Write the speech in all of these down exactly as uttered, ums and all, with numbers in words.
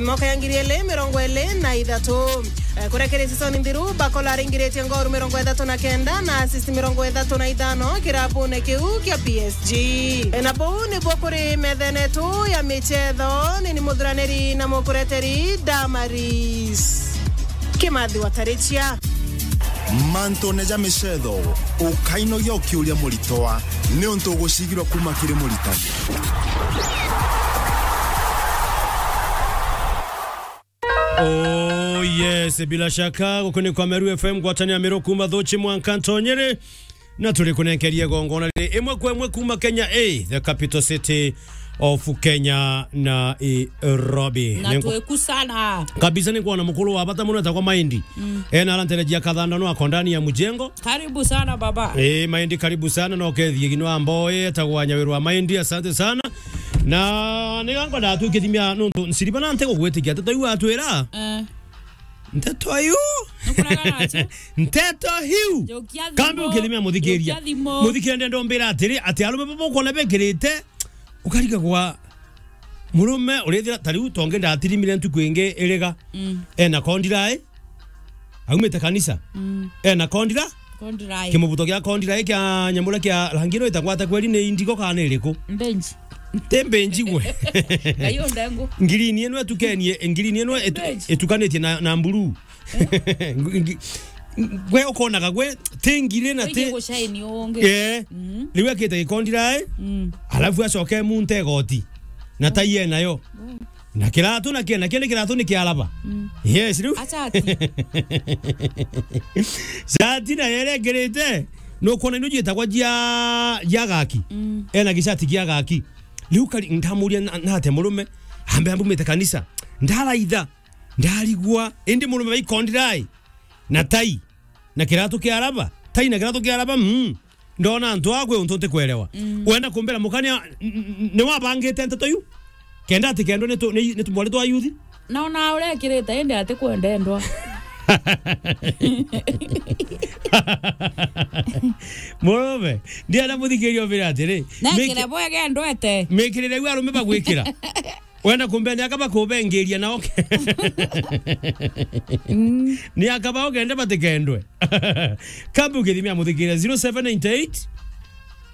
Mwaka ya ngiri ili mirongo ili na ithatu. Eh, kuria kiri season nthiru, Bakola aringiritie ngoru mirongo ithatu na kenda na assist mirongo ithatu na ithano kirabune kiu kia P S G. Eh, na buu nibuo kuri methene tu ya michetho, ni ni muthuraniri na mukureteri Damaris Kimathi wa Tarichia. Mantune ja michetho, ukainogia ukiuria muritwa, niuntu ugucigirwa kuma kiri muritani. Oh yes, bila shaka, guku ni kwa Meru F M, ngwatanio ya Meru kuma Thuchi mwanka Ntonyere. Na turi kunenkeria gongona riri imwe kwa imwe kuma Kenya, eh, the capital city of Kenya, Nairobi. Na Nengwa- tweku sana. Kabisa, ni kwona mukuru wa bata muno etagwa Maindi. Mm. Ena aranterejia kathanda no ako ndani ya mujengo. Karibu sana, baba. Eh, Maindi, karibu sana. No kethie gino ambo etagwa Nyawirwa Maindi, asante sana. Na ni gangwa ndatwikithimia nuntu nsiriba na nte gugwitikia nteto iu atwira. Eh. Nteto iu. Nukuraga nacio. Nteto iu. Jokia thimo. Kambe ukithimia muthikiria. Jokia thimo. Muthikiria ndenda umbira atiri, ati arume baba ukona bekirite, ukarigagwa murume urithira ta riu tonge ndatirimire ntuku ingi iriga. Mm. Ena kondirai. Aumite kanisa. Mm. Ena kondira. Kondirai. Kimubuto kia kondira kia nyamura kia rangi no itagwata kweri ni indigo kana iriku? Mbenji. Ti mbenji gwe. Kayo ndengu. Ngirini ino etukenie, ngirini ino etu-, Mbenji. Etukanitie na, na mburu. Eh? Ngi-, ngi-, gwe ukonaga gwe, ti ngiri na ti. Wije gushine ungi. Eh. Mm. Riu ekite gikondira, eh? Mm. Alafu acoke munte igoti. Na tai enayo. Mm. Na kiratu nakio, nakio ni kiratu ni kiaraba. Mm. Yes, riu. Acha ati. Shati na yere ngirite. No kuona ino jitagwa jia, jia gaki. Mm. Ena gishati gia gaki. Riu kari, ndamuria na, na ate murume. Ambe ambumite kanisa. Ndaraitha. Ndarigwa. Indi murume baikondira ai. Na tai. Na kiratu kiaraba. Tai na kiratu kiaraba. Mm. Ndona antu akwe untu ntikwerewa. Mm. Wenda kumbira mukania, n-, n-, ni wabangite nteto iu? Kenda ati kendwa ni tu-, ni, ni tumwari twa yuthi? Na ona urekirite indi ati kwendendwa. Murume, ndienda muthikiria umbire atiri, na miki-, kire bwege ndwete. Mikirire iu arume bagwikira. Wenda kumbea ni aka bakubengeria nao ke-, mm, ni aka bao kende batikendwe. Kambe ukithimia muthikire zero seven nine eight,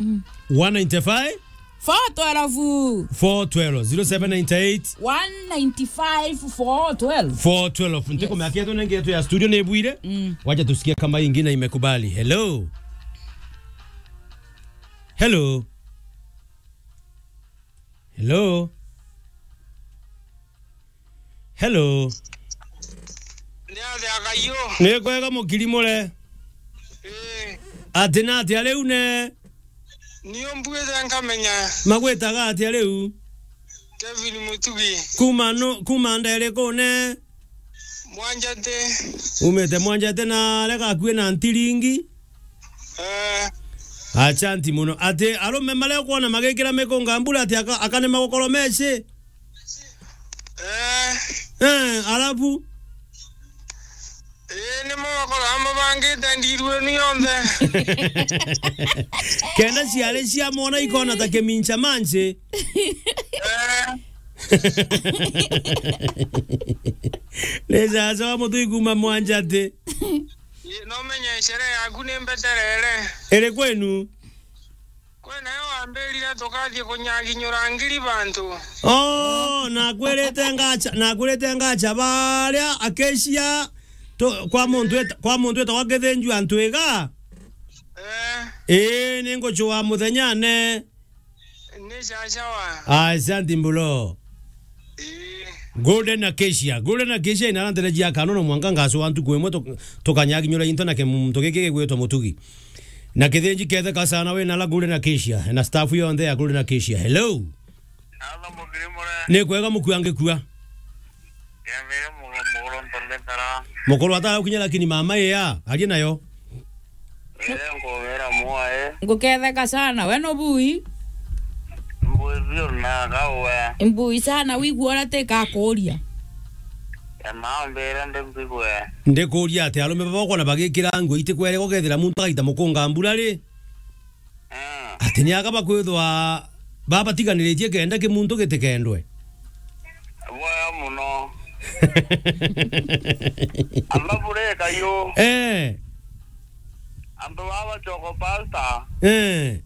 mm, one nine five, four twelve. Four twelve, zero seven nine eight, one nine five, four twelve. Four twelve. Yes. Ntikumea kiatu nenge yetu ya studio ni bwire. Mm. Wacha tusikie kama hii ingine imekubali. Hello. Hello. Hello. Hello. Ni atia Kaio? Ni kwega mukiri mure? Ii. Ati na atia riu ne? Ni umbuite nkamenya. Magwitaga atia riu? Kevin Mutugi. Kuma nu-, kuma ndere kune? Mwanjate. Umite Mwanjate na aria gakui na Ntiringi? Eh. Asanti muno. Ati arume maria ukwona magikira mikunga mbura ati aka-, akanema gukorwo meci? Eh. Eh, alafu? Ii, nimo bakoragwa mabangite ndiru inu yonthe. Kenda ciari cia mwana ikona ta kimincha manchi. Eh. Ni sasa wa mutui kuma Mwanjati. Ii, no menye sherehe yaku ni mbeterere. Iri kwenu? Kwe nayo wambirire tukathie kunyaginyura ngiri bantu. Oh, nakwirite ngacha, nakwirite ngacha baria Acacia tu-, kwa muntu weta-, kwa muntu wetagwa Githinju antu iga. Eh. Ii, ni ngucua muthenyane. Ni sawa sawa. Asanti mbulo. Ii. Golden Acacia. Golden Acacia inaranteregia kanono mwanka ngacua ntuku imwe tuk-, tukanyaginyura into na kimuntu giki gigwitwa Mutugi. Na kithinji ketheka sana wina la Golden Acacia, na staff yonthe ya Golden Acacia. Hello. Hello, mukiri mure? Ni kwega mukua ngikua. Kemire mu-, muguru ntoletara. Mukuru atara gukinya lakini mama iya, arie nayo. Ire nkubira mwae. Nguketheka sana. We no bui? Mbui biu na gawe. Mbui sana, wigua uria tikakuria. Ema mbire ndi mbigwe. Ndikuria ati arume baba ukona bagikira ngui itikwere gukethira muntu agaita mukunga mbura ri? Eh. Ati ni aka bakwithwa babatiganiritie kenda kimuntu gitikendwe? Bwega muno. Alafu reka yo. Eh. Antu baba choko pasta. Eh.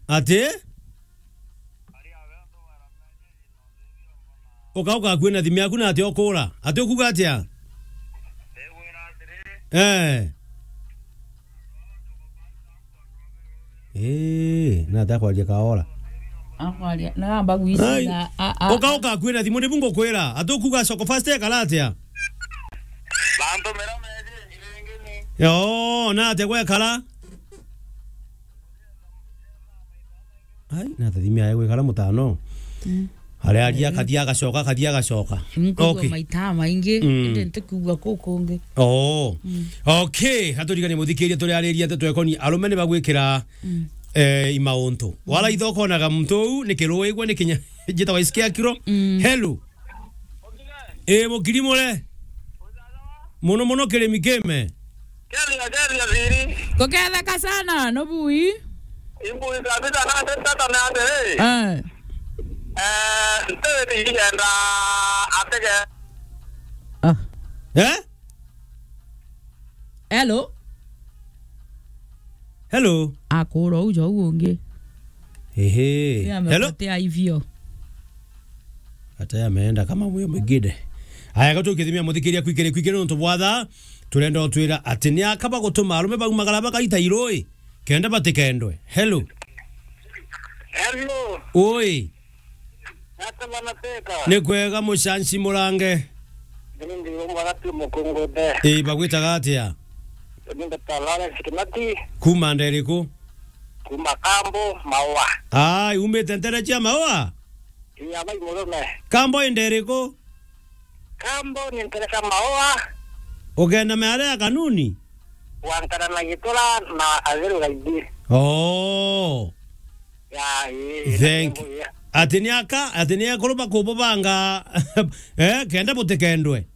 Ati? Ukauka kwina thimu yaku na ati ukura. Ati ukuga atia? Eh. Eh, na ati akwaria kaora. Akwaria, na amba gwicina, a, a, ukauka kwina thimu, nibu ngukwira. Ati ukuga soko fast ekara atia? Bantu mera meje, irengeni. Yo, na ati gwekara? Ai, na tathimi aye gwikara mutano. Mm. Aria aria, eh, akathia agacoka, akathia agacoka. Nkuigua, okay, maita maingi, mm, indi ntikiigua kuu kungi. Oh. Mm. Okay, aturiganie muthikiria turiariria nteto ekoni arume ni bagwikira, mm, eh, imauntu. Mm. Wala itho konaga muntu uu ni kiruigwa ni kinya jitagwa isikia kiro. Mm. Hello. Eh, mukiri mure. Muno muno kirimi kime. Keria, keria, thiri. Kuketheka sana, no bui. Imbui kabisa, na tata na ande, eh. Eh. Eh, ntewe ni yenda atege. Ah. Eh? Hello? Hello? Akura ujo ungi. Ehe. Hello? Amepotea hivyo. Ata yameenda kama huyo mwingine. Aya, gatu kithimia muthikiria kwikire, kwikire nontu bwa thaa, turenda utwira ati ni aka bagutuma arume baumagara bakaita irui, kenda batikendwe. Hello. Hello. Oi. Ata bana teka. Ni kwega mucanci murange. Ni ndi umwe gati mukungude. Ii, bagwitaga atia? Ni ndeta Lawrence Kimati. Kuma nda iriku? Kuma Kambo, Maua. Ai, umite ntere cia Maua? Iya, bai murume. Kambo i nda iriku? Kambo ni ntere cia Maua. Ugenda miaria ya kanuni? Gwantana na gitura na Atheru Gaidi. Oh. Ya, ii, thank you. Ati ni aka, ati ni akuru bakububanga, eh, kenda butikendwe.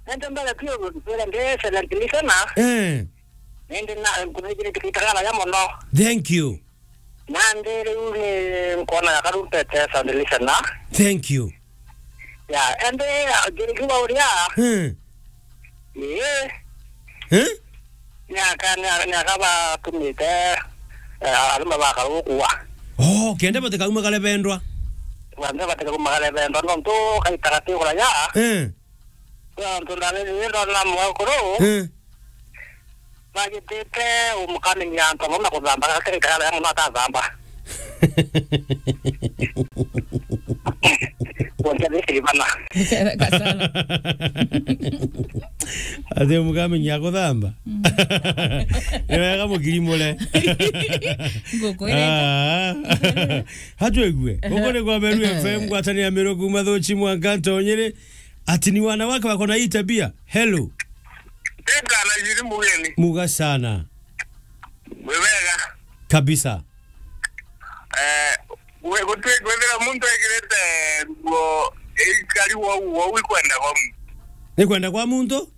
Nende mbere pio, mbere ndi excellent listener. Eh. Nende na, nkuthikire kitagara ya mono. Thank you. Nandi riu ni nkwona ya karu mpete excellent listener. Thank you. Ya, ende, ya, ngirikiwa uria. Hmm. Ii. Eh? Ni aka, ni aka, ni aka batumite, eh, arume bakarukua. Oh, kenda batikauma kare bendwa. Kenda batikauma kare bendwa, nontu kaitaga tigura ya. Eh. Nontu ndabiri ndona mwakuru. Eh. Bagitite umukamenyia antu amwe na kuthamba, gakiri kaya muno atathamba. Kuonja thikiri bana. Kasala. Ati umukamenyia kuthamba? Mm. Ni wega mukiri mure. Ngukwirite. Ah. Hatwigue. Guku ni kwa Meru F M, ngwatanira Meru kuma Thuchi mwanka Ntonyiri. Ati ni wanawake wako na hii tabia. Hello. Teka na jiri mugeni. Muga sana. Mwebega. Kabisa. Eh, we gutwi kwethira muntu ekirite nguo ikari wau, wau ikwenda kwa muntu. Ni kwenda kwa muntu?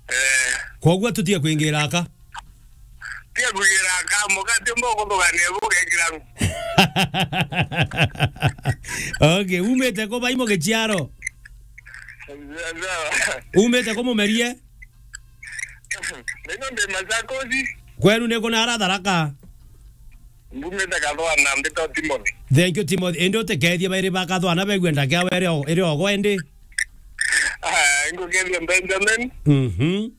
Eh. Kwoguo tutige kwingira aka. Tia kugira kamu, kati mbo kuthugania bu gekira. Okay, umite ku bai mugichiaro? Sawa. Umite ku mumerie? Nino ndi Masakosi. Kwenu ni kuna ara Tharaka? Mbumite Kathwana, mbita Timothy. Thank you, Timothy. Indi utikethie bairi ba Kathwana begwe ndakea were o-, iri ogo indi? Ah, ngukethia Benjamin. Mhm.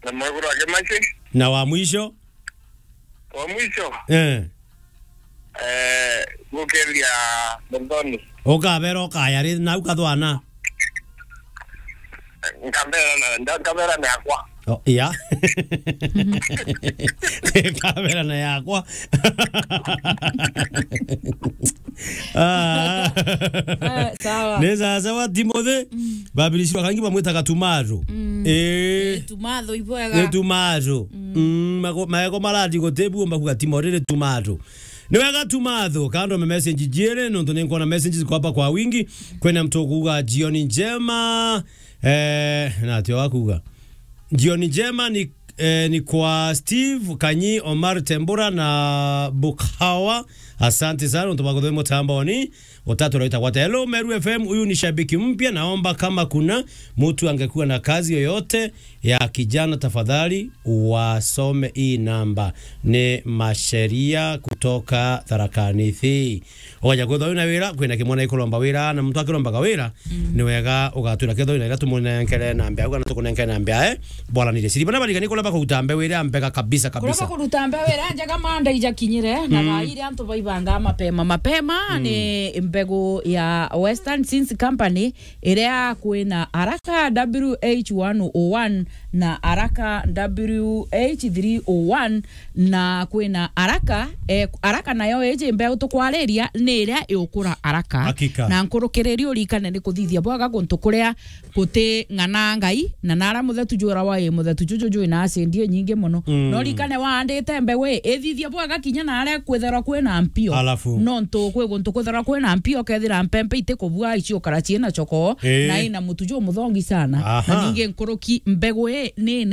Na mwekuru wake Machi. Na wa mwisho? Wa mwisho? Eh. Eh, gukeria Muthoni. Ukabera ukaya ri nau Kathwana? Nkabera na, nda-, nkabera na yakwa. Oh, ya. Nkabera na yakwa. Ah. Eh, sawa. Ni sawa sawa, Timothy. Mm. Babirisi bakangi bamwitaga Tumaru. Mm. Eh. Eh, Tumathu ibwega. Ni Tumaru. Mm. Mm, mago-, maego marati gutebu mbakuga Timothy ni Tumaru. Ni wega Tumaru, kando me message jiere, nontu ni nkuona messages kwa hapa kwa wingi. Kwena mtu kuuga jioni njema. Eh, na atio wakuga. Jioni njema ni, eh, ni kwa Steve Kanyi, Omar Tembura na Bukhawa. Asante sana, untu bwa kuthoma mutamboni. Utatu uraita gwata. Hello, Meru F M, huyu ni shabiki mpya. Naomba kama kuna mtu angekuwa na kazi yoyote ya kijana, tafadhali wasome hii namba. Ni Masheria kutoka Tharaka Nithi. Oja kwithwa wina wira, kwina kimwana ikuromba wira, na muntu akirombaga wira, ni wega ugatwira kethwa wina ira tumunenkere namba au, kana tukunenkere namba yae, bwaranire. Siri bana barigani kuria bakuruta mbeu iria mbega kabisa, kuria kabisa. Bakuruta mbeu iria njega manda ijakinyire, na thaa iria antu baibanga mapema mapema, ni mbegu ya Western Seeds Company, iria kwina Araka W H one oh one na Araka W H three oh one, na kwina Araka, eh, Araka nayo iji mbeu tukwariria ni iria iukura Araka. Hakika. Na nkurukiriri urikane ni kuthithia bwega guntu kuria guti ng'ana ngai, na naria muthetu jura wa i muthetu juju jwi na acindi inyingi muno. Mm. No rikane waandite mbeu i, ithithia bwega kinya naria kwitherwa kwina mpio. Alafu? Nontu kwi guntu kwitherwa kwina mpio, ukethira mpempe itikubua, iciukara ciina choko, eh, na ina mutu jumuthongi sana. Aha. Na ningi nkuruki mbegu i ni